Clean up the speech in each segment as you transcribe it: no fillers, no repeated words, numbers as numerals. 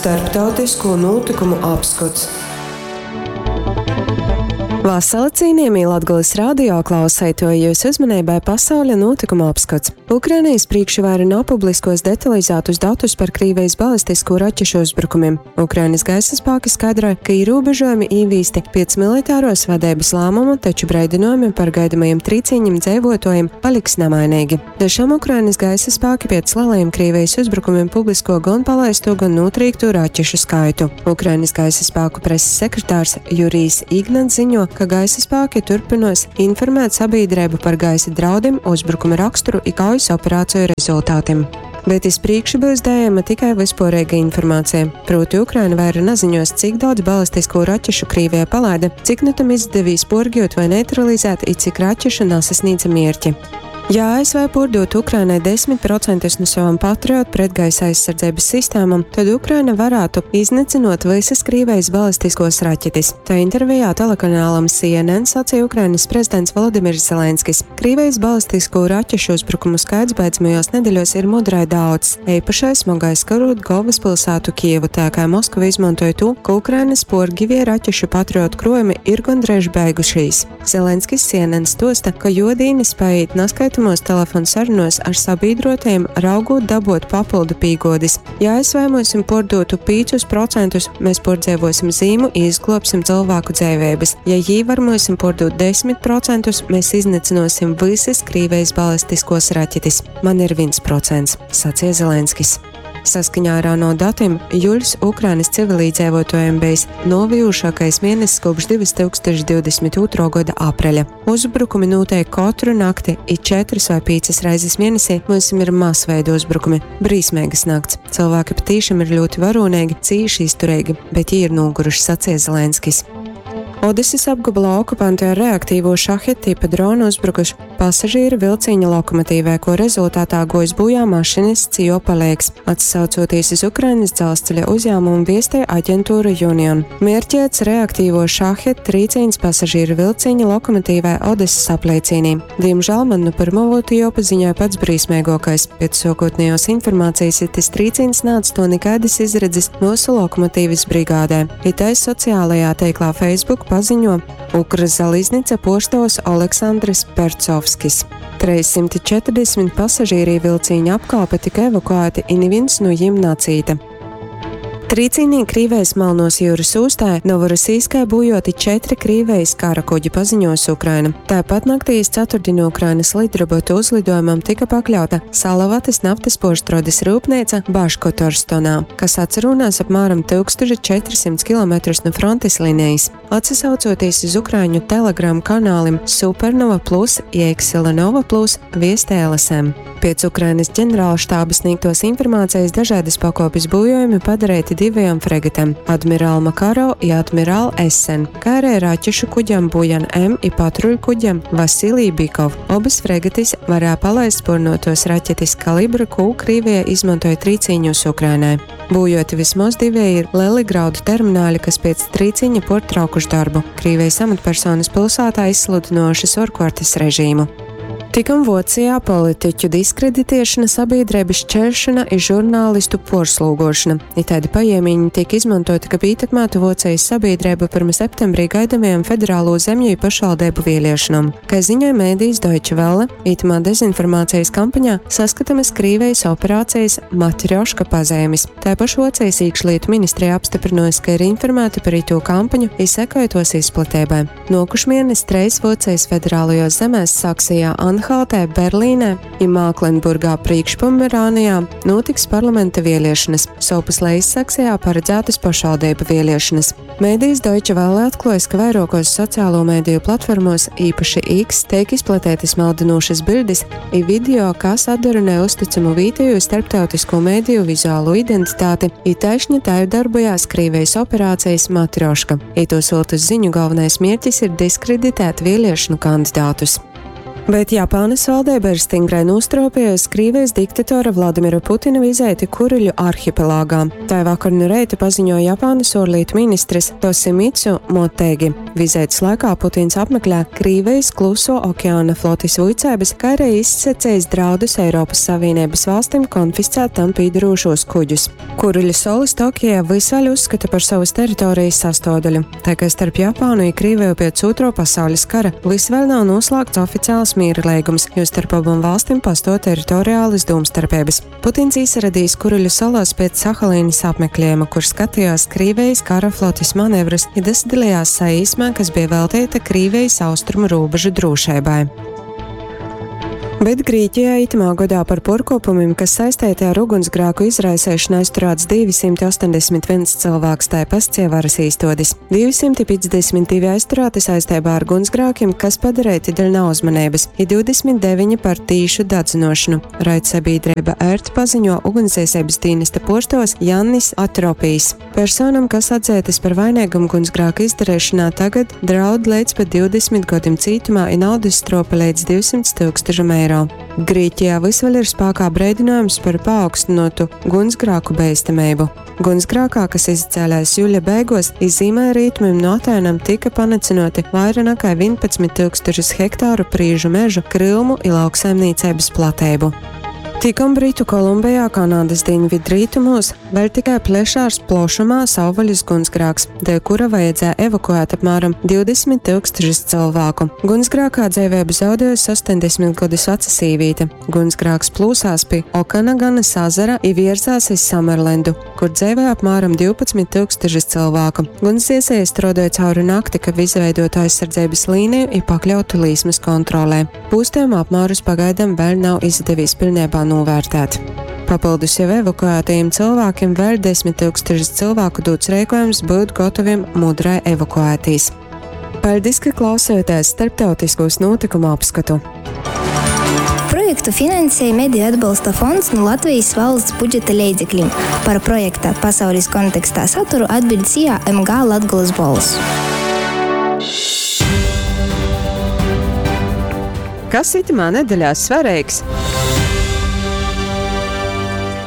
Starptautisko nūtykumu apskots. Vasala cīnījamī Latgolys radio klauseituoji, jūs uzmaneibai pasauļa nūtykumu apskots. Ukrainijas prīkšvaira nav publiskos detalizātus datus par Krīvijas balistiskū raķešu uzbrukumim. Ukrainas gaisa spāki skaidroja, ka ierobežojumi īvīsti piec militāros vadeibas lēmuma, taču breidinojumi par gaidamajiem trīcīņiem dzeivuotuojiem paliks namainīgi. Da šam Ukrainas gaisa spāki piec lielajiem Krīvijas uzbrukumiem publisko gan palaisto, gan notrīkto raķešu skaitu. Ukrainas gaisa spēku preses sekretārs Jurijs Ignats ziņo, ka gaisa spēki turpinos informēt sabiedrību par gaisa draudiem, uzbrukuma raksturu i kaujas operāciju rezultātiem. Bet iz prīkšu byus daejama tikai vispōreiga informācija. Prūti Ukraina vaira naziņos, cik daudz balistiskū raķešu Krīvija palaida, cik nu tam izdevīs porgiut vai neutralizēt i cik raķešu nasasnīdza mierķi. Ja ASV puordūtu Ukrainai 10% nu savam Patriot pretgaisa aizsardzeibys sistēmom, tod Ukraina varātu iznycynuot vysys Krīvejis balistiskos raķetis. Tai intervijā telekanālam CNN saceja Ukrainys prezidents Volodimirs Zelenskis. Krīvejis balistiskū raķešu uzbrukumu skaits beidzamajuos nedeļuos ir mudrai daudz, eipašai smogai skarūt golvyspilsātu Kijevu, tā kai Moskva izmontoj tū, ka Ukrainys puorgivie raķešu Patriot kruojumi ir gondreiž beigušīs. Zelenskis CNN stuosta, ka juo dīnys paīt naskaitamuos telefonsarunuos ar sabīdruotajim, raugūt dabuot papyldu pīguodis. Ja ASV myusim puordūtu 5%, mēs puordzeivuosim zīmu i izgluobsim cylvāku dzeiveibys. Ja jī var myusim puordūt 10%, mēs iznycynuosim vysys Krīvejis balistiskuos raķetis. Man ir 1%, saceja Zelenskis. Saskaņā ar ANO datiem, juļs Ukrainas civilīdzeivuotuojiem bejs nuovejūšākais mieness kopš 2022. Goda apreļa. Uzbrukumi nūteik kotru nakti i četrys vai pīcys reizis mienesī myusim ir masveida uzbrukumi. Brīsmeigys nakts. Cylvāki patīšam ir ļūti varūneigi, cīši iztureigi, bet jī ir nūguruši, saceja Zelenskis. Odesys apgobolā okupanti ar reaktīvū Šahed tipa dronu uzbrukuši Pasažīru vilcīņa lokomotīvē, kuo rezultātā guojs būjā mašinists i juo paleigs, atsaucoties iz Ukrainys dzelzceļa uzjāmumu viestej aģentūra Union. Mierķēts reaktīvo Šahed trīcīņs pasažīru vilcīņa lokomotīvē Odesas apleicīnī. Diemžēl man nu pirmo būtu juopaziņoj pats brīsmeiguokais. Pēc suokotnējuos informācijas itis trīcīņs naatstuo nikaidys izredzis myusu lokomotīvis brigādē. I tai sociālajā teiklā Facebook paziņo Ukrzaliznica puorstuovs Oleksandrs Percovskis. 340 pasažīri vilcīņa apkalpe tika evakuēti i nivīns nu jim nacīta. Trīcīnī Krīvejas Malnuos jiurys ūstā Novorosijskai būjuoti četri Krīvejis kara kuģi, paziņuos Ukraina. Tāpat naktī iz ceturtdienu Ukrainys lidrobotu uzliduojumam tika pakļauta Salavatys naftys puorstruodis ryupneica Baškotorstonā, kas atsarūnās apmēram 1400 kilometrus nu frontis linejis. Atsasaucoties iz ukraiņu Telegram kanālim Supernova Plus i Eksilanova Plus, viestē LSM. Piec Ukrainas ģenerālštāba sniegtos informācijas dažādas pakopes būjojumi padareiti divajām fregatēm - Admiral Makarov i Admiral Essen, kā arī raķešu kuģam Bujan M i patruļkuģam Vasilij Bikov. Obas fregatis varēja palaist spurnotos raķetis kalibra, kū Krīvija izmantoja trīcīņos Ukrainai. Būjoti vismoz divēji ir leli graudu termināļi, kas piec trīciņa portraukuši darbu. Krīvijas amatpersonas pilsētā izsludinošas orkvartes režīmu. Tikam Vocijā politiķu diskreditiešana, sabiedrības šķelšana i žurnālistu porslūgošana. I taidi pajiemīņi tiek izmantoti, kab ītekmētu Vocijas sabiedrību pirma septembrī gaidamajām federālo zemju i pašvaldību vieliešonom. Kai ziņoja mēdījis Deutsche Welle, itamā dezinformācijas kampaņā saskatamys Krīvejis operācijas Matrjoška pazeimis. Taipoš Vuocejis īkšlītu ministreja apstyprynuojs, ka ir informāti par itū kampaņu i sekoj tuos izplateibai. Nuokušmienes treis Vuocejis federālajuos zemēs Saksejā, Anhaltē, Berlīnē i Māklenburgā Prīkšpomerānijā nūtiks parlamenta vieliešonys, sovpus Lejissaksejā paradzātys pašvaldeibu vieliešonys. Mēdījis Deutsche Welle atkluojs, ka vairuokos sociālo mēdīju platformuos, īpaši X, teik izplatētas maldinūšas biļdis i video, kas atdarunē uzticamu vītejū i starptautisko mēdīju vizuālū identitāti, i taišni tai darbojās Krīvejis operācejis Matrjoška. Itūs viltus ziņu galvenais mierķis ir diskreditēt vieliešonu kandidātus. Bet Japānas valdība ir stingrai nostropējusi Krīvijas diktatora Vladimira Putina vizīti Kuriļu arhipelāgā. Tā vakar no reita paziņoja Japānas ārlietu ministrs Tosimitsu Motegi. Vizītes laikā Putins apmeklē Krīvijas Kluso okeāna flotis vuicēbas, kā arī izsacījis draudus Eiropas Savienības valstīm konfiscēt tam pīdarūšos kuģus. Kuriļu salas Tokijā vys vēļ uzskata par savas teritorijas sastāvdaļu, tā kā starp Japānu i Krīveju pēc Ūtro pasaules kara vys vēl nav noslēgts oficiāls miera leigums, jo starp abām valstīm pastāv teritoriālas domstarpības. Putins īsaradīs Kuriļu salās pēc Sahalīnas apmeklējuma, kur skatījās Krīvijas kara flotis manevrus i dasadalījās saīsmē, kas bija veltīta Krīvijas austrumu robežu drošībai. Bet Grīķijā itamā godā par puorkuopumim, kas saisteiti ar ugunsgrāku izraiseišanu, aizturāts 281 cylvāks, tai pascie varas īstuodis. 252 aizturāti saisteibā ar gunsgrākim, kas padareiti dēļ nauzmaneibys, i 29 par tīšu dadzynuošonu, raidsabiedreiba ERT paziņo ugunsdzēseibys dīnesta puorstuovs Jannis Atropijs. Personam, kas atzeitys par vaineigam gunsgrāka izdareišonā, tagad draud leidz pat 20 godim cītumā i naudys struope leidz 200 tyukstušam eiro. Grīķijā vys vēļ ir spākā breidynojums par paaugstynuotu gunsgrāku beistameibu. Gunsgrākā, kas izacēlēs juļa beiguos, iz zīmēļrītumim no Atēnam tika panycynuoti vaira nakai 11 tyukstušus hektāru prīžu mežu, kryumu i lauksaimnīceibys plateibu. Tikom Britu Kolumbejā, Kanadys dīnvidrītumūs, vēļ tikai plešās plošumā savvaļas gunsgrāks, dēļ kura vajadzēja evakuēt apmēram 20 tūkstošus cilvēku. Gunsgrākā dzeiveibu zaudējusi 80 gadus vaca sīvīte. Gunsgrāks plūsās pi Okanaganas azara i vierzās iz Samerlendu, kur dzeivoj apmēram 12 tūkstošus cilvēku. Gunsdziesēji struodoja cauri nakti, kab izveidotu aizsardzeibys līniju i pakļautu līsmys kontrolē. Pūstījuma apmērus pagaidām vēl nav izdevīs pilnībā novērtēt. Papildus jau evakuētajiem cilvēkiem vēl 10 tūkstošus cilvēku dots rīkojums būt gotaviem mudrai evakuētīs. Paldies, ka klausījāties starptautiskos notikumu apskatu. Projektu finansēja Mediju atbalsta fonds no Latvijas valsts budžeta leidzekļiem. Par projekta Pasaules kontekstā saturu atbild SIA MG Latgolas Bols. Kas itamā nedeļā svareigs?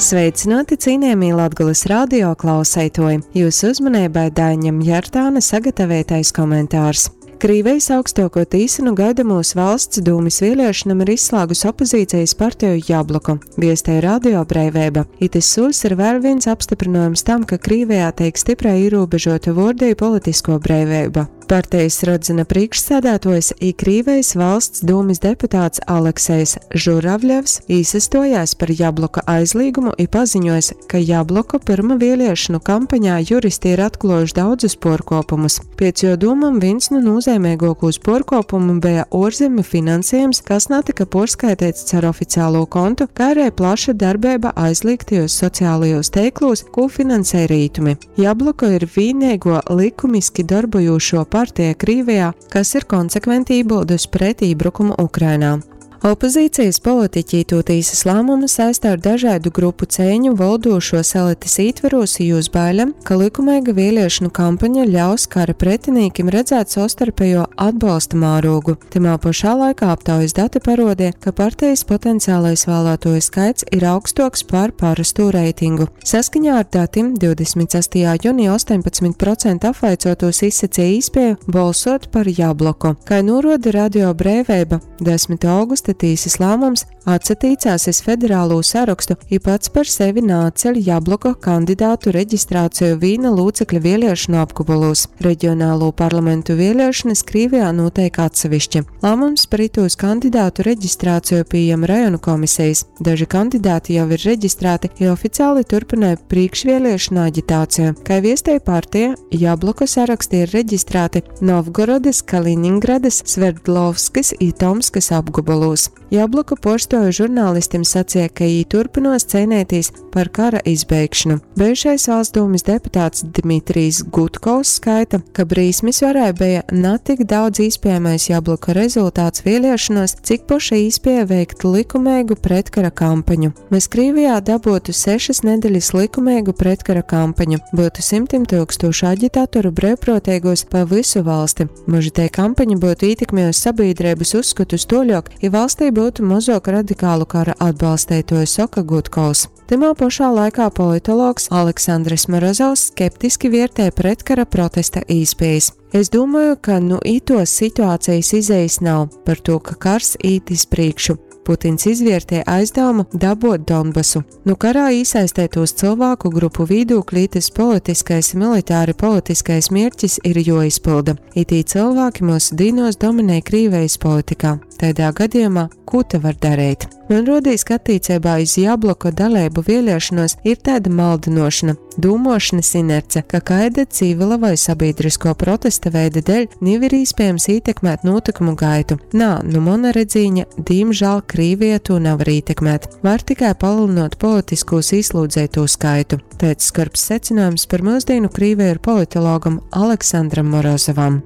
Sveicināti cienījamie Latgulas radio klauseitoji! Jūsu uzmanībai Daiņam Jartāna sagatavotais komentārs. Krīvijas augstāko tīsu nu gaidamos valsts dūmis vēlēšanam ir izslēgus opozīcijas partiju Jabloku, viestēja Radio Breiveiba. Itis sūls ir vēl viens apstiprinājums tam, ka Krīvijā tiek stiprai ierobežota vordiju politisko breiveiba. Partijas Rodzina priekšsēdētājs i Krīvijas valsts dūmis deputāts Aleksejs Žuravļevs īsastojās par Jabloka aizlīgumu i paziņojis, ka Jabloka pyrma vēliešanu kampaņā juristi ir atkluojuši daudzus puorkuopumus. Piec juo dūmam vīns nu nūzeimeiguokūs puorkuopumu beja uorzemju finansiejums, kas natyka puorskaiteits car oficialū kontu, kai ari plaša darbeiba aizlīgtajūs socialajūs teiklūs, kū finansej rītumi. Jabloka ir vīneiguo likumiski dorbojūšuo partija Krīvijā, kas ir konsekventi ībyldus pret ībrukumu Ukrainā. Opozīcijas politiķi itū tīsys lāmumu saista ar dažaidu grupu ceiņu voldūšuos elitis ītverūs i jūs bailem, ka lykumeiga vieliešonu kampaņa ļaus kara pretinīkim redzēt sovstarpejuo atbolsta mārūgu. Tymā pošā laikā aptaujis dati paruodeja, ka partejis potencialais vālātuoju skaits ir augstuoks par parostū reitingu. Saskaņā ar datim 26. junī 18% apvaicuotūs izsaceja īspieju bolsuot par Jabloku. Kai nūruoda Radio Breiveiba, 10. augusta tīsys lāmums atsatīcās iz federalū sarokstu i pats par sevi naatceļ Jabloka kandidātu reģistrāciju vīna lūcekļa vieliešonu apgobolūs. Reģionālū parlamentu vieliešonys Krīvijā nūteik atsevišķi. Lāmums par itūs kandidātu reģistrāciju pījem rajonu komisejis. Daži kandidāti jau ir reģistrāti i oficiāli turpynoj prīškvieliešonu aģitāciju. Kai viestej partija, Jabloka saraksti ir reģistrāti Novgorodys, Kaliningradys, Sverdlovskys i Tomskys apgobolūs. byus. Jabloka puorstuoju žurnālistim saceja, ka jī turpynuos ceineitīs par kara izbeigšanu. Bejušais valsts dūmis deputāts Dmitrijs Gudkovs skaita, ka brīsmis varai beja na tik daudz īspējamais Jabloka rezultāts vieliešonuos, cik poša īspēja veikt likumeigu pretkara kampaņu. Mēs Krīvijā dabotu 6 nedeļas likumeigu pretkara kampaņu, būtu simtim tūkstošu aģitatoru brīvprātīgos pa visu valsti. Moža tei kampaņa būtu ietekmējusi sabiedrības uzskatus toļok, ja valstī būtu mazāk radikālu kara atbalstētoju, saka Gudkovs. Tymā pašā laikā politologs Aleksandrs Morozovs skeptiski vērtē pretkara protesta īspējas. Es domāju, ka nu itos situācijas izejas nav par to, ka kars īt iz priekšu. Putins izvērtē aizdevumu dabot Donbasu. Nu karā iesaistētos cilvēku grupu vīdūkļi tas politiskais, militāri politiskais mērķis ir joizpilda. Itī cilvēki mūsu dīnos dominē Krīvejas politikā. Tādā gadījumā, ko te var darīt? Man rodīs, ka attiecībā iz Jabloka dalību vēlēšanos ir tāda maldinošana, dūmošanas inerce, ka kaida civila vai sabiedrisko protesta veida dēļ nav ir iespējams ietekmēt notikumu gaitu. Nā, nu mana redzīņa, diemžēl Krīvija to nevar ietekmēt. Var tikai palielinot politiskos ieslūdzēto skaitu. Teica skarbs secinājums par mūsdienu Krīviju ir politologam Aleksandram Morozovam.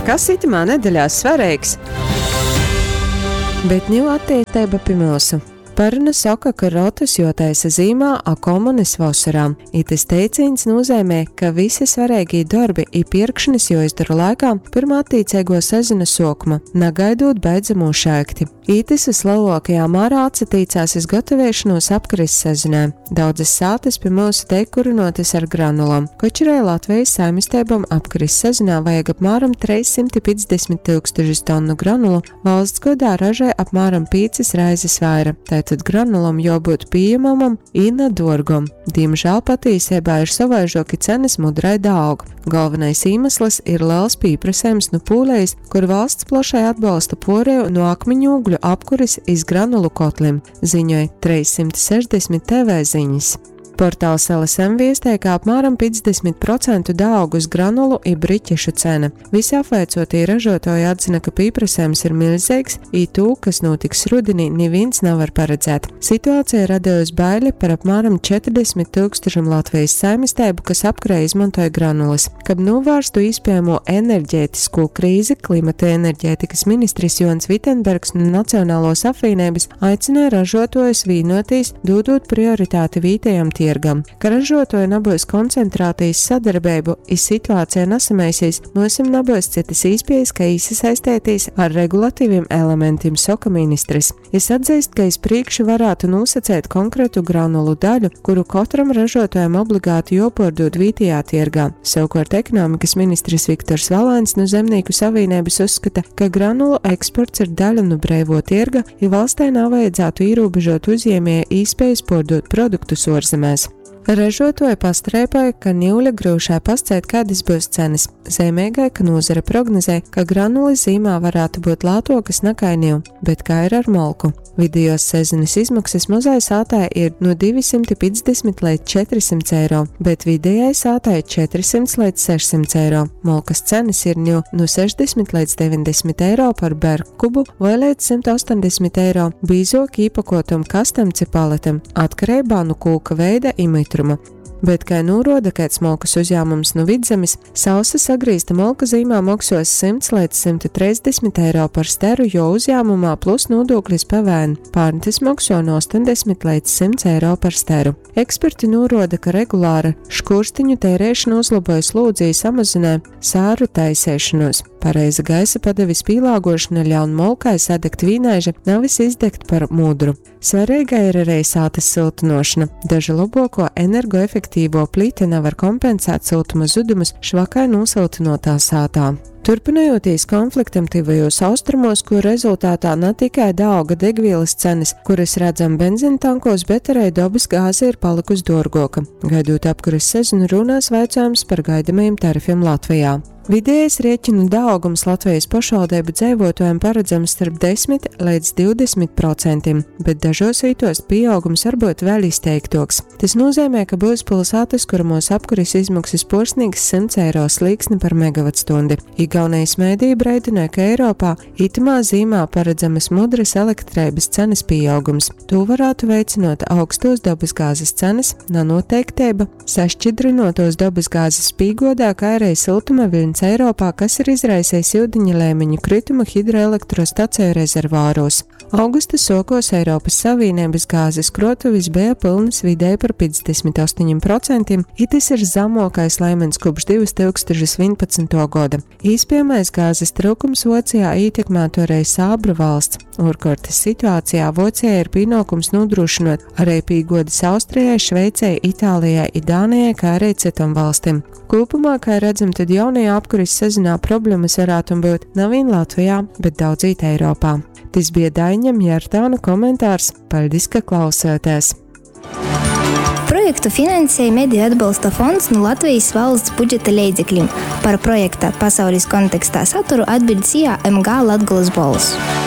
Kas itamā nedēļā svarīgs? Bet ņū attīstība pie mūsu. Paruna saka, ka rotus jotaisa zīmā, a komunis vasarā. Itis teicīns nozīmē, ka visi svarīgie darbi i pirkšanas joizdara laikā pirmā attiecīgo sezona sokuma, nagaidot beidzamo šēkti. Itis vislielākajā mērā atsatīcās iz gatavošanos apkaris sezonai. Daudzas sātas pie mūsu teik kurinotas ar granulām. Koč arī Latvijas saimistībām apkaris sezonā vajag apmēram 350 tūkstošus tonu granulu, valsts godā ražē apmēram 5 reizes vaira. Tātad granulam jābūt pieejamam i na dorgam. Diemžēl patiesībā ir savaižoki cenas mudrai daug. Galvenais iemesls ir liels pieprasījums no Pūlejas, kur valsts plašai atbalsta poreju no akmeņogļu apkuris iz granulu kotlim, ziņoja 360 TV ziņas. Portāls LSM viestē, ka apmēram 50% daaugus granulu i briķešu cena. Visi apvaicotie ražotāji atzina, ka pieprasījums ir milzīgs, i tū, kas notiks rudenī, neviens nevar paredzēt. Situācija radījusi baili par apmēram 40 tūkstošiem Latvijas saimistēbu, kas apkurē izmantoja granulas. Kab novērstu iespējamo enerģētisko krīzi, klimata enerģētikas ministrs Jons Vitenbergs no Nacionālos apvienības aicināja ražotājus vīnotīs, dodot prioritāti vītējam tirgam. Ka ražotoji nabūs koncentrācijas sadarbību, i situācija nesamaisīs, mūsim nabūs citas īspējas, ka īsasaistētīs ar regulatīviem elementiem, saka ministrs. Es atzīst, ka iz priekšu varētu nosacēt konkrētu granulu daļu, kuru katram ražotājam obligāti jopordod vītijā tirgā. Savukārt ekonomikas ministrs Viktors Valēns no Zemnieku savienības uzskata, ka granulu eksports ir daļa no breivo tirga, ja valstē nav vajadzētu ierobežot uzņēmēja īspējas pārdot produktus ārzemēs. Ražotoji pastrēpoja, ka ņūļa grūšā pascēt, kādas būs cenas. Zemīgai, ka nozare prognozē, ka granuli zīmā varētu būt lētokas nekā ņū, bet kā ir ar molku? Vidējos sezonas izmaksas mazai sātai ir no 250 līdz 400 eiro, bet vidējai sātai 400 līdz 600 eiro. Molkas cenas ir ņū no 60 līdz 90 eiro par berkubu vai līdz 180 eiro bīzok īpakotam kastam ci paletam, atkarībā no kūka veida i mitruma. Bet, kā norāda kāds molkas uzņēmums no Vidzemes, sausa sagrīzta molka zīmā maksos 100 līdz 130 eiro par steru, jo uzņēmumā plus nodoklis PVN. Pārn tas makso no 80 līdz 100 eiro par steru. Eksperti norāda, ka regulāra škurstiņu tērēšana uzlaboja slūdzī samazinē sāru taisēšanos. Pareiza gaisa padeves pielāgošana ļaun molkai sadegt vīnaiža, nevis izdegt par mudru. Svarīga ir arī sātas siltinošana. Daža labāko energoefektīvo plīti nevar kompensēt siltuma zudumus švakai nosiltinotā sātā. Turpinojoties konfliktam tuvajos austrumos, kur rezultātā ne tikai dauga degvielas cenas, kuras redzam benzīna tankos, bet arī dabas gāze ir palikusi dārgāka. Gaidot apkuras sezonu, runās vaicājums par gaidamajiem tarifiem Latvijā. Vidējais rēķinu dāgums Latvijas pašvaldību dzīvotājiem paredzams starp 10 līdz 20%, bet dažos vītos pieaugums var būt vēl izteiktoks. Tas nozīmē, ka būs pilsētas, kuramos apkuras izmaksas porsnīgs 100 eiro slīksni par megavatstundi. Igaunejis mediji breidynoj, ka Eiropā itamā zīmā paredzamys mudrys elektreibys cenys pīaugums. Tū varātu veicynuot augstuos dobysgāzis cenys, nanūteikteiba sašķidrynuotuos dobysgāzis pīguodā, kai ari syltuma viļņs Eiropā, kas ir izraisejs iudiņa leimiņu krytumu hidroelektrostaceju rezervuarūs. Augusta suokuos Eiropys Savīneibys gāzis kruotuvis beja pylnys vidēji par 58%, i tys ir zamuokais leimiņs kopš 2011. goda. Īspiejamais gāzis tryukums Vuocijā ītekmātu arī sābru valsts. Uorkuortys situācijā Vuocijai ir pīnuokums nūdrūšynuot arī pīguodis Austrijai, Šveicei, Itālijai i Dānijai, kai arī cytom valstim. Kūpumā, kai redzam, tad jaunajā apkuris sezonā problemys varātum byut na viņ Latvijā, bet daudzīt Eiropā. Tys bija Daiņa Mjartāna komentārs. Paļdis, ka klausāties! Projektu finansēja Mediju atbalsta fonds nu Latvijas valsts budžeta leidzeklim. Par projekta Pasaules kontekstā saturu atbild SIA MG Latgolas bolss.